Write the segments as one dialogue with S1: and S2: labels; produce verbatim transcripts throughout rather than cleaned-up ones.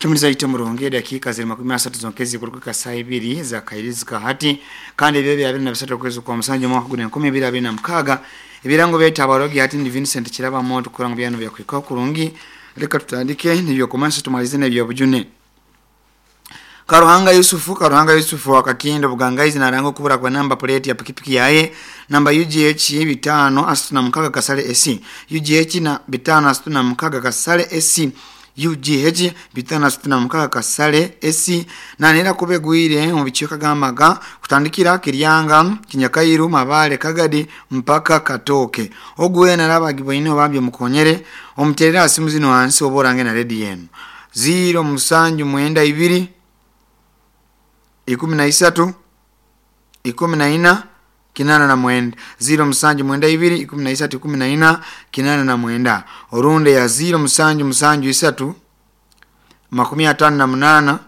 S1: Kimuliza ite murungi dakika ziri makumi asatu zonkezi kuruka saa ibiri za kairizika hati kandi ebyo bya abiri na bisatu okwezi kwa musanju mwaka guna enkumi ibiri abiri na mukaga ebirango bya abarogi hati ni Vincent Kiraba Moto kuranga byano bya kwika kurungi. Reka tutandike nibyo komanso tumalize n'ebyo bujune. Karuhanga Yusufu Karuhanga Yusufu akakindo bugangaizi na rango kubura kwa namba plate ya pikipiki yaye namba U G H bitano asatu na mukaga kasale S C U G H na bitano asatu na mukaga kasale S C U G H bitano asatu na mukaga kasale S C na nera kubegwire mu bichika gamaga kutandikira Kiryanga Kinyakairu Mabale Kagadi mpaka Katoke ogwe naraba giboine obambye mukonyere omuterera asimu zino hansi oborange na ready yenu zero musanju mwenda ibiri ikumi na isatu ikumi na ina kinana na mwenda zero musanju mwenda ibiri ikumi na isatu ikumi na ina kinana na mwenda orunde ya zero musanju musanju isatu makumi atano na munana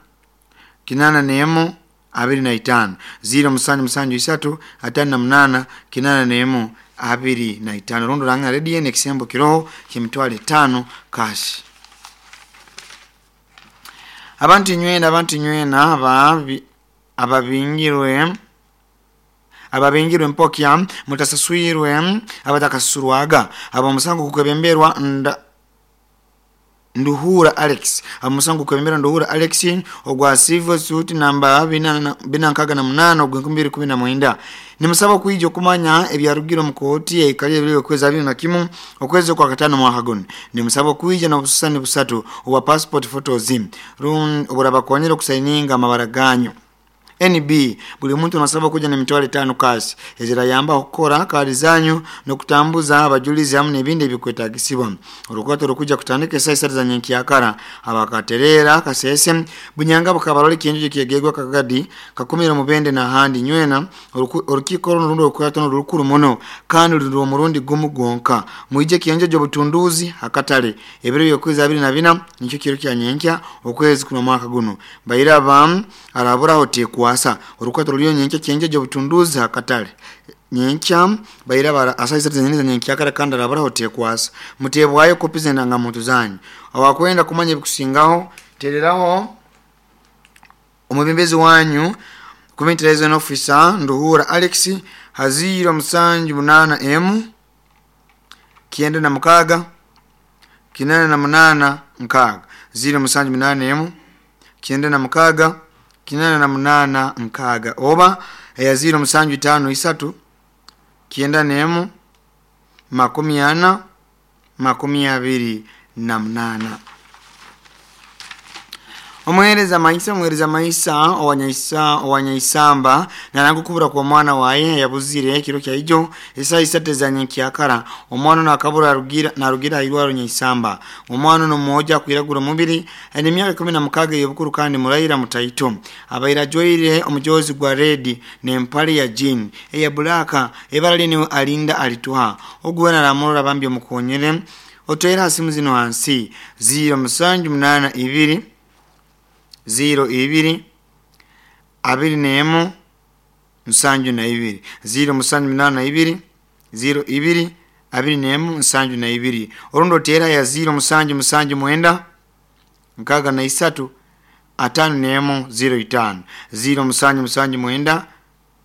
S1: kinana nemu abiri na itano zero musanju musanju isatu atano na munana kinana nemu abiri na itano rundo ranga ready ne kisembo kiroho kimitwale tano kashi. Abantu nywena abantu nywena aba ababingirwe ababingirwe mpokya mutasaswirwe abatakasurwaga aba musango kukebemberwa nda Nduhura Alex amusango kukebembera Nduhura Alex ogwa civil suit namba bina bina nkaga na munana ogwa nkumi mbiri kumi na mwenda nimusaba kuija kumanya ebyarugiro mu kooti ekali ebyo kweza abiri na kimu okwezi kwa katano mwaka guno nimusaba kuija na bususani busatu owa passport photos run oburabakonyera kusaininga amabaraganyo N B buli muntu nasaba kuja na mitwalo tano kasi ezira yamba okukora kali zanyu nokutambuza abajulizi hamwe n'ebindi ebikwetagisibwa orukwato rukuja kutandika saa isatu za nyenkyakara abakaterera kasese bunyanga bukabaroli kinju kyegegwa Kagadi kakumira mubende na handi nywena orukiko runo rukwato rukuru muno kandi ruri murundi gumu gonka muije kienjo jo butunduzi akatale ebiro byokwezi abiri na bina nicyo kiro kya nyenkya okwezi kuno mwaka guno bayiraba arabura hotekwa wasa orukwato ruriyo nyenkya kienjo jo butunduzi akatale nyenkya bayiraba asaisa zenene nyenkya kara kandi arabura hotekwasa mutebwayo kopi zenanga muntu zanyu awakwenda kumanya ebikusingaho tereraho omubembezi wanyu Community Liaison Officer Nduhura Alex haziro musanju munana M kienda na mukaga kinana na munana nkaga ziro musanju munana M kienda na mukaga kinana na munana nkaga oba ya ziro musanju tano isatu kienda nemu makumi ana makumi abiri na munana. Omuhereza maisa omuhereza maisa owanyaisa owanyaisamba narangu kubura kwa mwana waye yabuzire kiro kya ijo isa isate za nyenkyakara omwana nakabura rugira narugira irwaro nyaisamba omwana no mmoja kwiragura mubiri ene myaka kumi na mukaga yobukuru kandi murayira mutaito abaira joire omujozi gwa red ne mpali ya jean eya bulaka ebara ni alinda alituha ogwana ramurora bambye mukonyere otoera simu zino hansi zero musanju munana ibiri zero ibiri abiri nemu nsanju na ibiri zero musanju munana ibiri zero ibiri abiri nemu nsanju na ibiri orundo tera ya zero musanju musanju mwenda nkaga na isatu atano nemu zero itano zero musanju musanju mwenda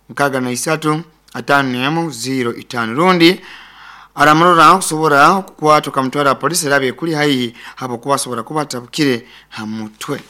S1: nkaga na isatu atano nemu zero itano rundi aramurora kusobora kukwatwa kamutwara polisi rabe kuli haihi hapo kubasobora kubatabukire hamutwe.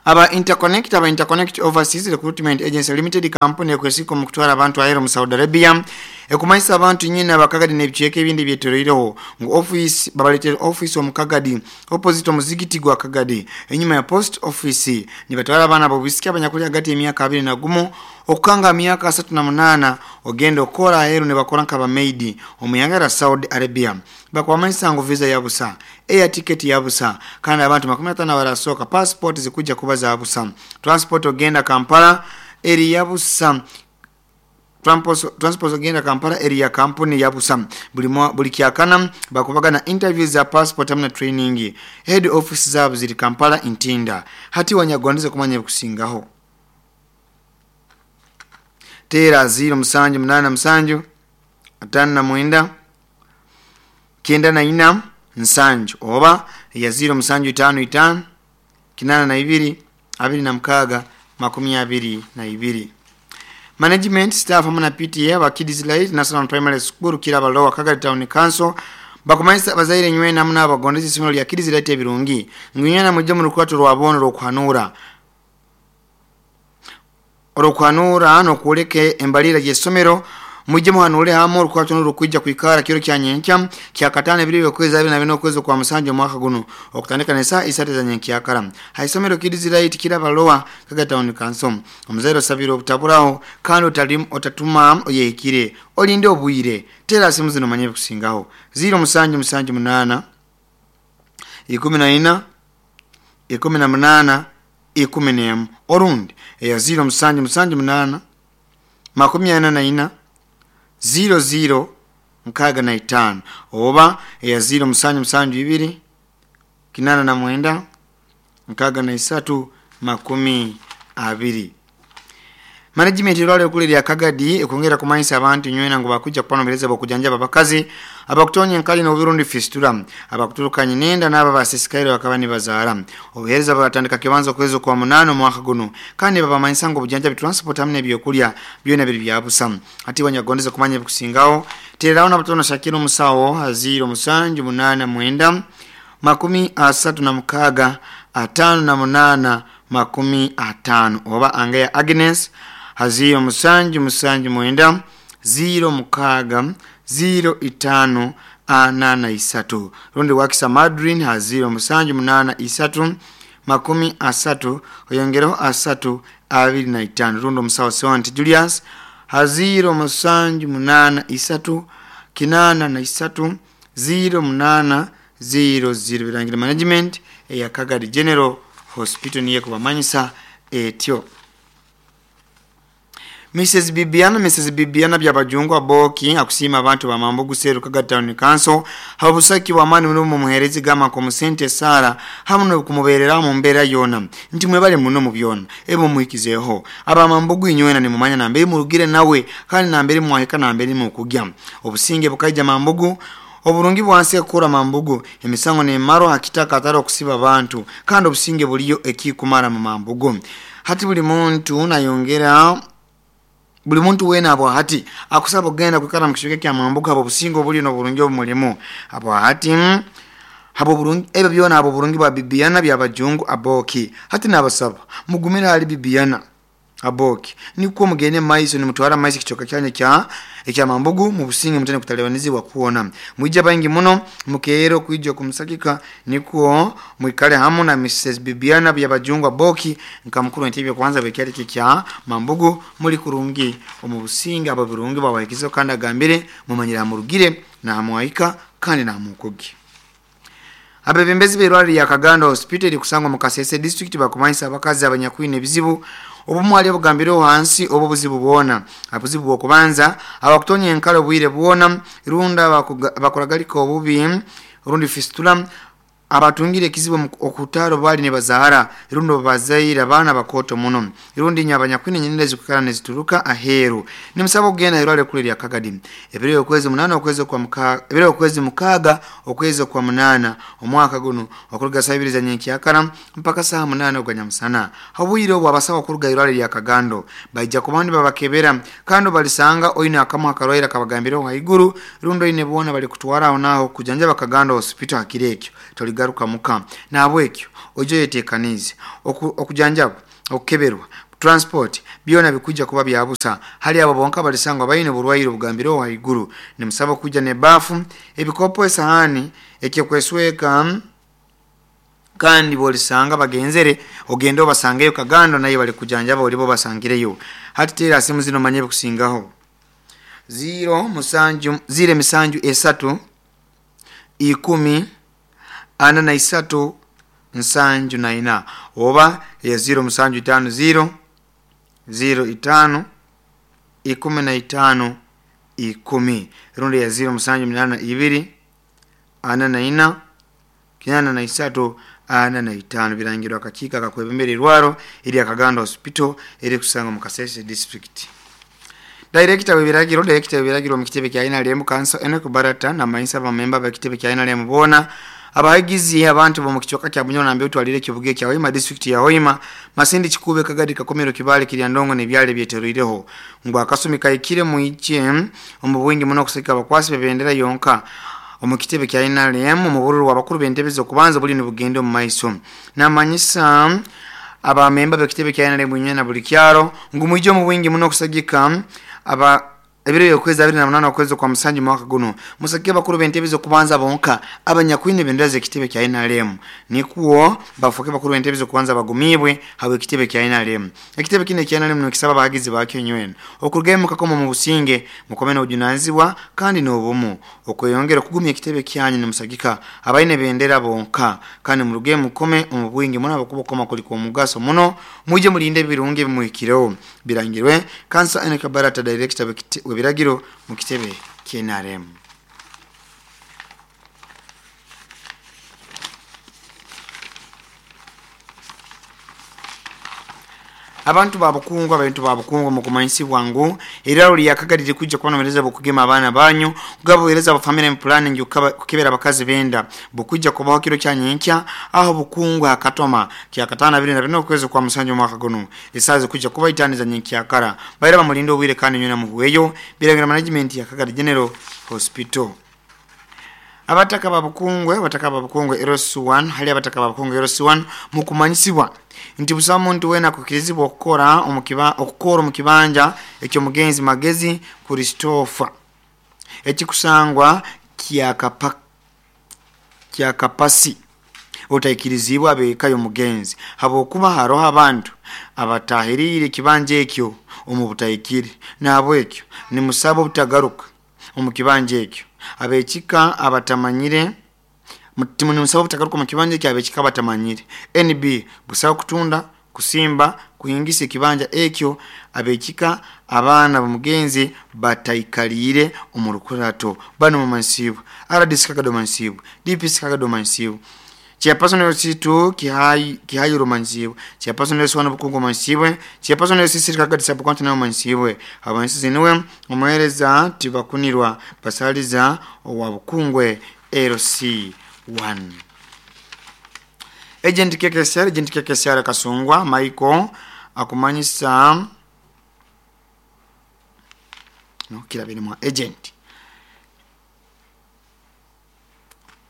S1: Aba Interconnect aba Interconnect Overseas Recruitment Agency Limited company ekwesiko mu kutwara abantu ahero mu Saudi Arabia ekumaisa abantu nyina bakagadi n'ebicheke ebindi byeterereho ngo office babaletere office omukagadi opposite omuzigiti gwa Kagadi enyuma ya post office ni batwara abana bobisiki abanyakuli hagati emyaka abiri na gumu okukanga myaka asatu na munana ogenda okora ahero ne bakora nkaba maid omuyangara Saudi Arabia bakwamaisa ngo visa ya busa air ticket ya busa kandi abantu makumi atano barasoka passport zikuja kuba za busa transport ogenda Kampala eri ya busa transport transport ogenda Kampala eri ya company ya busa buli buli kyakana bakubaga na interviews za passport amna training head office zabo ziri Kampala Intinda hati wanyagwandize kumanya kusingaho tera zero musanju munana musanju atano na mwenda kenda na ina nsanju oba ya ziro musanju itano itano kinana na ibiri abiri na mkaga makumi abiri na ibiri. Management staff hamwe na P T A ba Kids Light National Primary School Kiraba Lower Kagadi Town Council bakumanyisa abazaire nywena hamwe n'abagondezi isomero lya Kids Light ebirungi ngwina mujje mu lukwato lwabono lw'okuhanura olw'okuhanura n'okwoleka embalira y'essomero mujje muhanule hamwe olukwato n'olukwijja kwikara kiro kya nyenkya kya katano ebiri okwezi abiri na bina okwezi kwa musanju omwaka guno okutandika n'essaawa isatu za nyenkyakara ha isomero Kids Light Kiraba Lower Kagadi Town Council. Omuzaire osabire obutaburaho kandi otalimu otatuma oyehikire olinde obwire tera simu zino manye kusingaho ziro musanju musanju munana ikumi na ina ikumi na munana ikumi n'emu orundi eya ziro musanju musanju munana makumi ana na ina ziro ziro nkaga na itano oba eya ziro musanju musanju ibiri kinana na mwenda nkaga na isatu makumi abiri. Management irwale kule lya Kagadi ekongera kumanyisa abantu nywena ngo bakuja kupanomereza bokujanjaba abakazi abakutonya enkali n'oburundi fistula abakuturukanye nenda n'aba basisikaire bakaba nibazaara obuhereza batandika kibanza okwezi kwa munano omwaka guno kandi babamanyisa ngo obujanjabi transport hamwe n'ebyokulya byona biri byabusa. Ati wanyagondeza kumanya ebikusingaho tereraho n'abatono Shakira omusawo aziro musanju munana mwenda makumi asatu na mukaga atano na munana makumi atano oba Angeya Agnes haziro musanju musanju mwenda ziro mukaga ziro itano anana isatu rundi wakisa Madrin haziro musanju munana isatu makumi asatu oyongereho asatu abiri na itano rundi omusawo Sewant Julius haziro musanju munana isatu kinana na isatu ziro munana ziro ziro. Birangira management eya Kagadi General Hospital niye kubamanyisa etyo. Missus Bibiana Missus Bibiana byabajungwa boki akusima abantu ba Mambugu Seru Kagadi Town Council habusaki wa mani muno mumuherezi gama ko musente Sara hamwe no kumuberera mu mbera yona nti mwebale muno mu byona ebo muikizeho aba Mambugu inywena ni mumanya na mbere murugire nawe kandi na mbere mwaheka na mbere mu kugya obusinge bukaija Mambugu oburungi bwansi ekura Mambugu emisango ne maro hakitaka ataro kusiba abantu kandi obusinge buliyo ekikumara mu Mambugu. Hati buli muntu nayongera buli muntu wena abo hati akusaba ogenda kwikara mu kishike kya Mambugu abo busingo obuli n'oburungi obumulimu abo hati habo burungi ebyo byona abo burungi bwa Bibiana byabajungu aboki hati nabasaba mugumira ali Bibiana aboki nikuwa mugende maiso ni mutwara maiso kichoka kyanya kya ekya Mambugu mu businge mutane kutalewanizi wakuona mwija bangi muno mukeero kuija kumusakika nikuo mwikale hamu na Missus Bibiana byabajungu aboki nkamukuru ntibyo kwanza bekyali kya Mambugu muri kurungi omu businge abo burungi bawahikizo kandi agambire mumanyira murugire na hamwaika kandi na mukugi. Abebembezi b'irwaliro lya Kagando Hospital kusangwa mu Kasese district bakumanyisa abakazi abanyakwine ebizibu obumwe ali obugambire hansi obo buzibu bwona abuzibu bw'okubanza abakutonya enkalo bwire bwona runda bakuragalika obubi rundi fistula abatungire ekizibu okutaro bali ne bazahara rundo bazaira bana bakoto muno rundi nyabanyakwine nyinende zikukana nezituruka aheru nimusaba okugenda irwaliro kule lya Kagadi ebiro okwezi munana okwezi kwa mukaga ebiro okwezi mukaga okwezi kwa munana omwaka guno okuruga sabiriza nyenkyakara mpaka saa munana ogwanyamusana habwire obwo abasawo okuruga irwaliro lya Kagando baija kubandi babakebera kandi balisanga oine akamu akarwaira kabagambira haiguru rundo ine bona bali kutwara aho naho kujanjaba Kagando Hospital hakirekyo toligaruka muka nabwekyo ojo yetekanize okujanjaba okukeberwa transport byona bikuja kuba byabusa hali abo bonka balisangwa bayine burwaire obugambiro haiguru nimusaba kuja ne bafu ebikopo esahani ekyokwesweka kandi bolisanga bagenzere ogende obasangeyo Kagando naye bali kujanjaba olibo basangireyo hati tera simu zino manye kusingaho zero musanju zire misanju esatu ikumi ana na isatu nsanju na ina oba ya zero musanju itano zero zero itano ikumi na itano ikumi rundi ya zero musanju minana ibiri ana na ina kinana na isatu ana na itano birangirwa akakika kakwebembera irwaro iri Kagando Hospital iri kusanga mu Kasese district. Director w'ebiragiro Director w'ebiragiro mu kitebe kya N R M Council Enoch Barata na mayinsa bamemba b'ekitebe kya N R M boona abahagizi abantu bo mu kichweka kya Bunyoro nambe utwalire kibuge kya Hoima district ya Hoima Masindi Kikube Kagadi Kakomero Kibale Kiryandongo nebyale byeteruireho ngo akasumi kaikire muiche omu bwingi muno kusika abakwasi bebendera yonka omu kitebe kya N R M mu bururu wabakuru bentebeze okubanza buli nibugende mu maiso namanyisa abamemba b'ekitebe kya N R M nyena buli kyaro ngu muije mu bwingi muno kusagika aba ebiro yokwezi abiri na munana okwezi kwa musanju mwaka guno musake bakuru bentebeze kubanza bonka abanyakwine bendera zekitebe kya N R M nikuo bafuke bakuru bentebeze kubanza bagumibwe hawe kitebe kya N R M ekitebe kine kya N R M nokisaba bahagizi bakyo nywena okurugemu kakoma mu businge mukomena ujunanzibwa kandi n'obumu okweyongera kugumya ekitebe kyanyu nimusagika abaine bendera bonka kandi murugemu mukome mu bwingi muno abakubokoma kuliko omugaso muno muje mulinde birungi bimuhikireho birangirwe Kansa Enoch Barata director webiragiro mu kitebe kya N R M. Abantu babukungu abantu babukungu mu kumanyisibwa ngu eralo lyakagalire kujja kubanomereza bukugema abaana banyu kugabuhereza aba family planning kukebera abakazi benda bukujja kubaho kiro kya nyenkya aho bukungu akatoma kya katana bibiri na bine okwezi kwa musanju mwaka guno esazi kujja kuba itaniza nyenkya kara bayira bamulindo obwire kandi nyuna muhuweyo biragira management ya Kagadi General Hospital. Abataka babukungwe abataka babukungwe Eros one hali abataka babukungwe Eros one mukumanyisibwa nti busa muntu wena kukirizibwa okukora omukiba okukora omukibanja ekyo mugenzi Magezi Christopher ekikusangwa kyakapa kyakapasi otaikirizibwa abekayo mugenzi habokuba haroho abantu abatahirire kibanja ekyo omubutaikiri nabo ekyo ni musabo obutagaruka omukibanja ekyo abechika abatamanyire mutimuni musabo butagaruka mu kibanja ekyo abechika abatamanyire N B busaba kutunda kusimba kuhingisa ekibanja ekyo abechika abaana bamugenzi bataikalire omurukurato bano mu mansibu R D C Kagado mansibu D P C Kagado mansibu Chairperson L C two Kihai Kihayuro mansibu Chairperson L C one Bukungu mansibu Chairperson L C three Kagadi sub county nayo mansibu abansi niwe omuhereza tibakunirwa basaliza owa Bukungwe L C one. Agent K K S R Agent K K S R Kasungwa Michael akumanyisa no kirabiri mu agent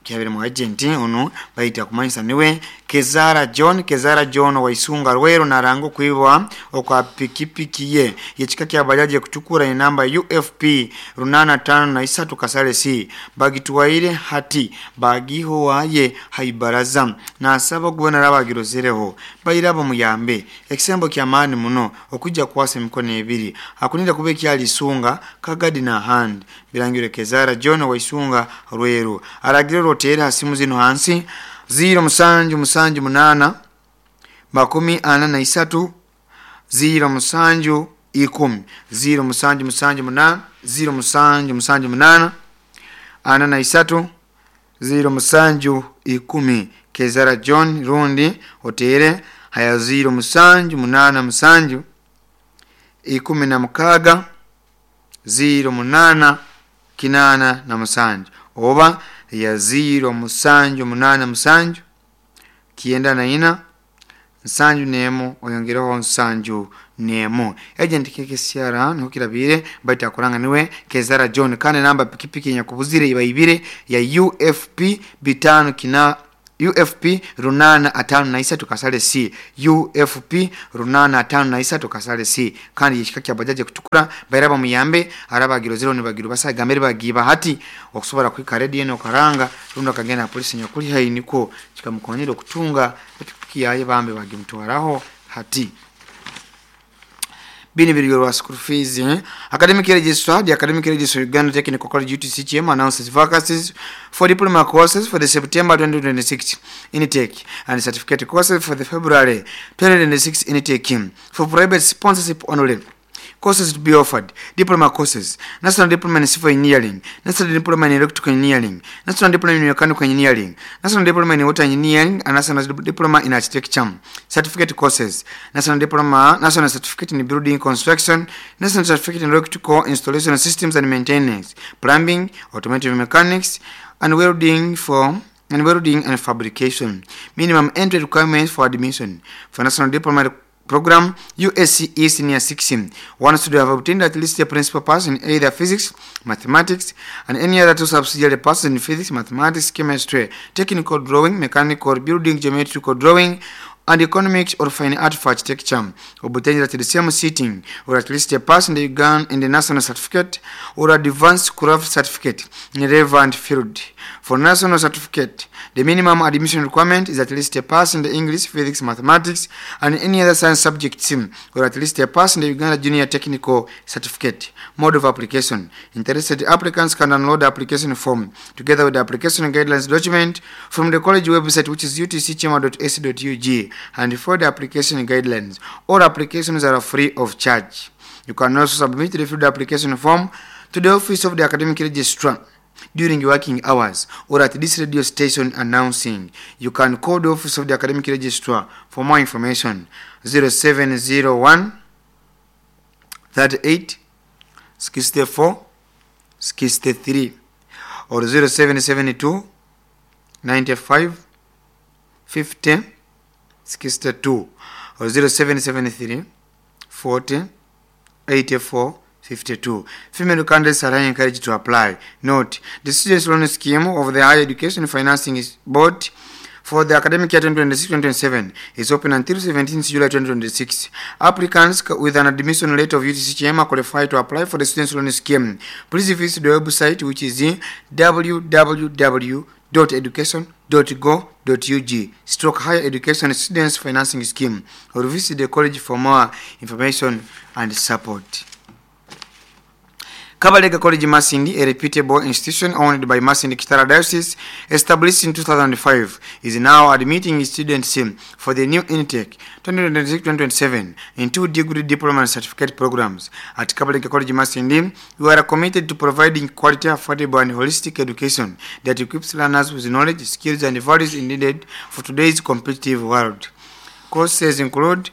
S1: kirabiri mu agent ono bayita kumanyisa niwe Kezara John Kezara John waisunga Rwero narango kuibwa okwa pikipiki ye yechika kya bajaji kuchukura ni namba U F P runana tano na isatu kasale C bagituwaire hati bagiho waye haibaraza na asaba gubona rabagirozereho bayirabo muyambe ekisembo kya maani muno okujja kwasa emikono ebiri akunira kube kyalisunga Kagadi na hand birangire Kezara John waisunga Rwero aragire rotera simu zino hansi ziro musanju musanju munana makumi ana na isatu ziro musanju ikumi ziro musanju musanju munana ziro musanju musanju munana ana na isatu ziro musanju ikumi Kezara John rundi otere haya ziro musanju munana musanju ikumi na mukaga ziro munana kinana na musanju oba ya ziro musanju munana musanju kienda na ina nsanju nemo oyongereho nsanju nemo agent K K C R ntukirabire baita kuranga niwe Kezara John kane namba pikipiki nyakubuzire ibaibire ya U F P bitano kina U F P runana atano na isatu kasale C U F P runana atano na isatu kasale C kandi yishika kya bajaje kutukura bairaba muyambe arabagiro zero nibagiro basa gamere bagiba hati okusobora kwika ready eno karanga rundo kagenda polisi nyakuli hai niko kikamukonyera okutunga pikipiki yaye bambe bagimtwaraho hati Bini biri school fees eh? Academic Registrar, the Academic Registrar Uganda Technical College U T C G M announces vacancies for diploma courses for the September twenty twenty-six intake and certificate courses for the February twenty twenty-six intake for private sponsorship only. Courses to be offered: Diploma courses, National Diploma in Civil Engineering, National Diploma in Electrical Engineering, National Diploma in Mechanical Engineering, National Diploma in Water Engineering, and National Diploma in Architecture. Certificate courses: National Diploma, National Certificate in Building Construction, National Certificate in Electrical Installation Systems and Maintenance, Plumbing, Automotive Mechanics, and Welding for and welding and fabrication. Minimum entry requirements for admission: For National Diploma Program, U S C E Senior six, one student have obtained at least a principal pass in either physics, mathematics, and any other two subsidiary passes in physics, mathematics, chemistry, technical drawing, mechanical, building, geometrical drawing, and economics or fine art for architecture, obtained at the same sitting, or at least a pass in the Uganda in the national certificate or advanced craft certificate in a relevant field. For national certificate, the minimum admission requirement is at least a pass in the English, physics, mathematics, and any other science subjects, or at least a pass in the Uganda Junior Technical Certificate. Mode of application: Interested applicants can download the application form together with the application guidelines document from the college website, which is U T C kyema dot A C dot U G, and for the application guidelines. All applications are free of charge. You can also submit the filled application form to the office of the academic registrar during working hours or at this radio station announcing. You can call the office of the academic registrar for more information: zero seven zero one thirty-eight sixty-four sixty-three or zero seven seven two ninety-five fifty sixty-two or zero seven seven three forty eighty-four fifty-two. Female candidates are encouraged to apply. Note, the Students Loan Scheme of the Higher Education Financing Board for the academic year twenty twenty-six twenty twenty-seven is open until seventeenth July twenty twenty-six. Applicants with an admission letter of U T C Kyema qualify to apply for the Students Loan Scheme. Please visit the website, which is w w w dot education dot go dot U G stroke higher education students financing scheme, or visit the college for more information and support. Kabalega College Masindi, a reputable institution owned by Masindi Kitara Diocese, established in two thousand five, is now admitting students for the new intake twenty twenty-six twenty twenty-seven in two degree, diploma and certificate programs. At Kabalega College Masindi, we are committed to providing quality, affordable and holistic education that equips learners with knowledge, skills and values needed for today's competitive world. Courses include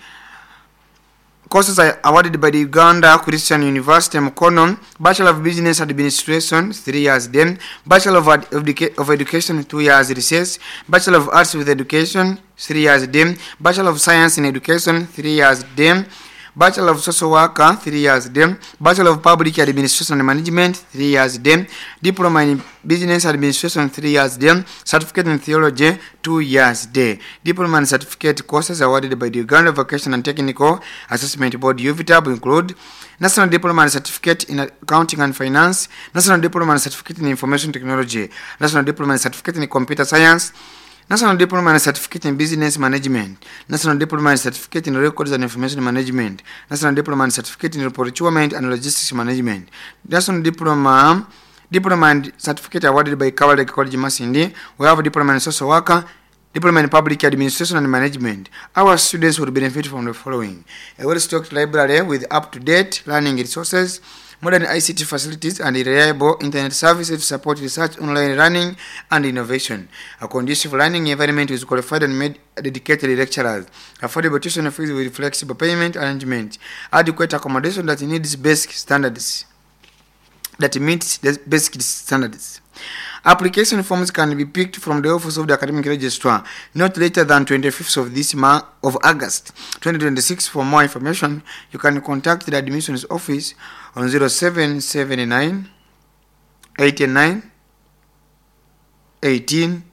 S1: courses are awarded by the Uganda Christian University Mukono: Bachelor of Business Administration, three years then, Bachelor of, Ed- Educa- of Education, two years recess, Bachelor of Arts with Education, three years then, Bachelor of Science in Education, three years then, Bachelor of Social Worker, three years then, Bachelor of Public Administration and Management, three years then, Diploma in Business Administration, three years then, Certificate in Theology, two years there. Diploma and certificate courses awarded by the Uganda Vocation and Technical Assessment Board, UVTAB, include National Diploma and Certificate in Accounting and Finance, National Diploma and Certificate in Information Technology, National Diploma and Certificate in Computer Science, National Diploma and Certificate in Business Management, National Diploma and Certificate in Records and Information Management, National Diploma and Certificate in Procurement and Logistics Management, National Diploma Diploma and Certificate awarded by Kabalega College Masindi. We have a Diploma in Social Worker, Diploma in Public Administration and Management. Our students will benefit from the following: a well-stocked library with up-to-date learning resources, modern I C T facilities and reliable internet services to support research, online learning and innovation, a conducive learning environment with qualified and made dedicated lecturers, affordable tuition fees with flexible payment arrangement, adequate accommodation that needs basic standards that meets the basic standards. Application forms can be picked from the office of the academic registrar not later than twenty-fifth of this month of August twenty twenty-six. For more information, you can contact the admissions office on zero seven seven nine eighty-nine eighteen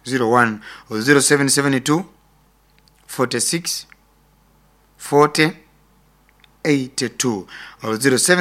S1: zero one or zero seven seven two forty-six forty eighty-two or zero seven